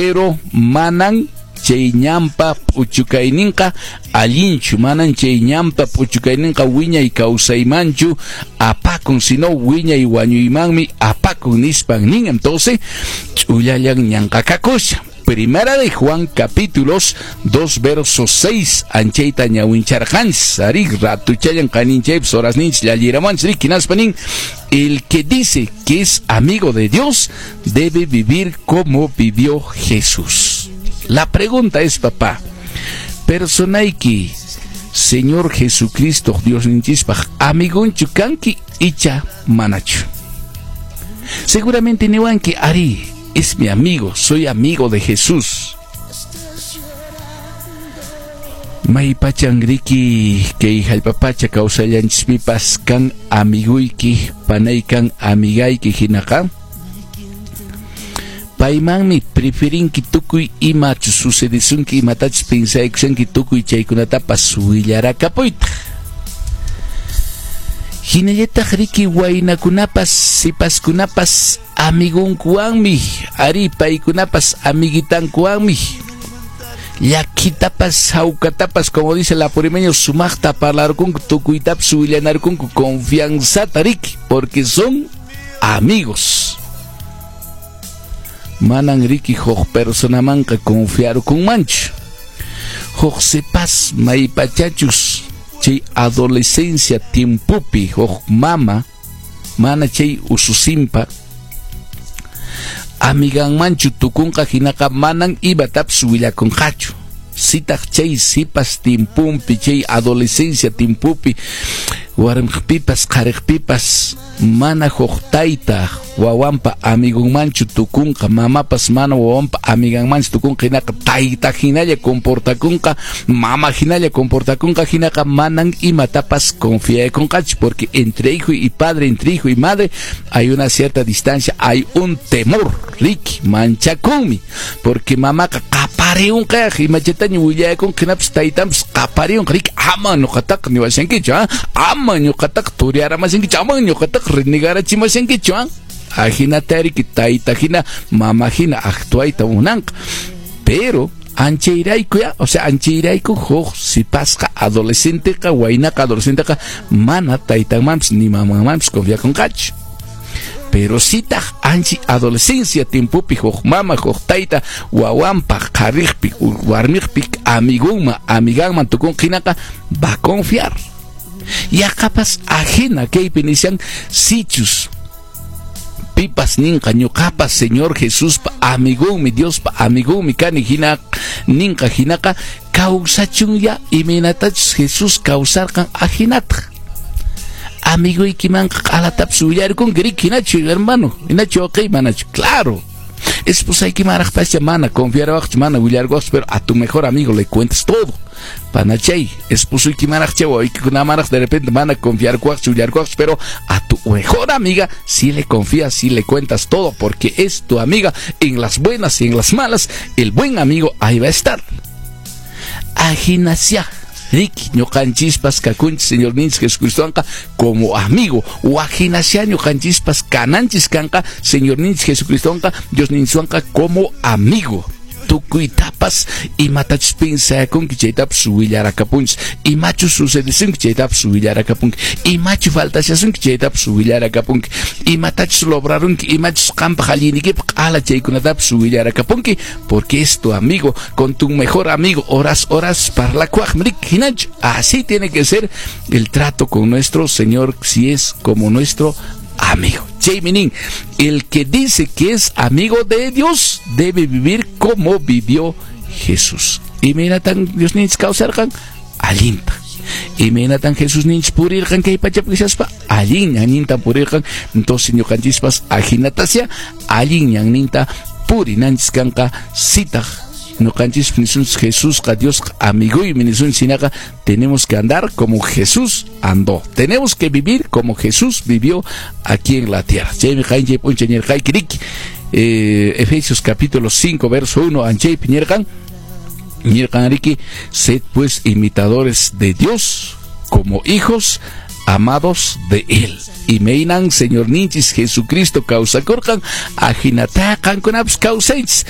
Pero manan chay ñanpa p'uchukayninqa allinchu, manan chay ñanpa p'uchukayninqa wiñay kawsaymanchu apakun, sino wiñay wañuymanmi apakun nispan nin. Entonces, ch'ullallan ñanqa kakusha. Primera de Juan capítulos 2 versos 6 anchayta ñawincharqanchis ari ratuchallan qaninchaypis horasninchis llalliramanchis riki hinaspa nin el que dice que es amigo de Dios debe vivir como vivió Jesús. La pregunta es, papá, personayki Señor Jesucristo Diosninchispaq amigonchu kanki icha manachu? Seguramente niwanki ari, es mi amigo, soy amigo de Jesús. Maypachan riki kay hallp'apacha kawsallanchispipas kan amiguyki, panay kan amigayki hinaqa paymanmi preferinki tukuy imachus sucedesunki, imatachus pensaykushanki tukuy chaykunatapas willarakapuytaq. Hinallataq riki waynakunapas sipaskunapas amigonkuwanmi, ari paykunapas amiguitankuwanmi llakitapas hawkatapas, como dice el apurimeño, sumaqta parlarkunku, tukuytapas willanarkunku confianzata riki, porque son amigos. Manan riki huk personamanqa confiarkunmanchu. Huk sipas maypachachus chay adolescencia tiempopi huk mama mana chay ususinpa amiganmanchu tukunqa hinaqa manan imatapas willakunqachu. Sitaq chay sipas tiempompi, chay adolescencia tiempopi warmiqpipas qhariqpipas mana huk tayta wawanpa amigonmanchu tukunqa, mamapas mana wawanpa amiganmanchu tukunqa hinaqa tayta hinalla comportakunqa, mama hinalla comportakunqa hinaqa manan imatapas confiakunqachu, porque entre hijo y padre, entre hijo y madre hay una cierta distancia, hay un temor, riki, manchakunmi, porque mamaqa qapariunqa imachataña willakunqa hinapas taytanpas qapariunqa, riki, ama ñuqataqa niwashankichu, ama ñuqataqa turiaramashankichu, ama ñuqataqa renegarachimashankichu, ajinata riki tayta hina mama hina actuayta munanqa. Pero anchayrayku ya, o sea, anchayrayku huk sipasqa adolescenteqa, waynaqa adolescenteqa mana taytanmanpis ni mamanmanpis confiakunqachu. Pero sitaq anchi adolescencia tiempopi huk mama huk tayta wawanpaq qhariqpi warmiqpi amigunman amiganman tukunqa hinaqa va a confiar. Yaqapas ajina kaypi nishan sichus pipas ninqa ñuqapas Señor Jesuspa amigonmi, Diospa amigonmi kani hina ninqa hinaqa kawsachun ya imaynatachus Jesús kawsarqan ajinataq. Amiguykimanqa q'alatapas willarkunki riki hinachu hermano, hinachu wawqiy manachu, claro. Esposaykimanraqpascha mana confiarawaqchu, mana willarkuwaqchu, pero a tu mejor amigo le cuentas todo. Panachay, esposuykimanraqcha wawaykikunamanraq de repente mana confiarkuwaqchu, willarkuwaqchu, pero a tu mejor amiga sí le confías, sí le cuentas todo, porque es tu amiga en las buenas y en las malas, el buen amigo ahí va a estar. Ajinasia, riki, ñuqanchispas kakunchis Señorninchis Jesucristowanqa como amigo, wajinasia ñuqanchispas kananchis kanqa Señorninchis Jesucristowanqa Diosninchwanqa como amigo. Tukuytapas imatachus pensakunki chaytapas willarakapunchis, imachus sucedesunki chaytapas willarakapunki, imachu faltashasunki chaytapas willarakapunki, imatachus lograrunki, imachus qampaq allinniykipaq q'ala chaykunatapas willarakapunki, porque es tu amigo, con tu mejor amigo horas horas parlakuaqmi riki hinachu. Así tiene que ser el trato con nuestro Señor si es como nuestro amigo. Chaymi nin, el que dice que es amigo de Dios debe vivir como vivió Jesús. Imaynatan Diosninchis kawsarqan allinta. Imaynatan Jesús ninchis purirqan kay pachapi kashaspa allin ñanninta purirqan. Entonces ñuqanchispas ajinatasya allin ñanninta purinanchis kanqa sitaq ñuqanchis nisunchis Jesusqa Diosqa amiguymi nisunchis hinaqa tenemos que andar como Jesús andó. Tenemos que vivir como Jesús vivió aquí en la tierra. Chaymi qaynchay p'unchay ñirqayki riki, Efesios capítulo 5 verso 1 anchaypi ñirqan, ñirqan riki, sed pues imitadores de Dios como hijos amados de él. Imaynan Señorninchis Jesucristo kawsakurqan ajinata qankunapas kawsaychis.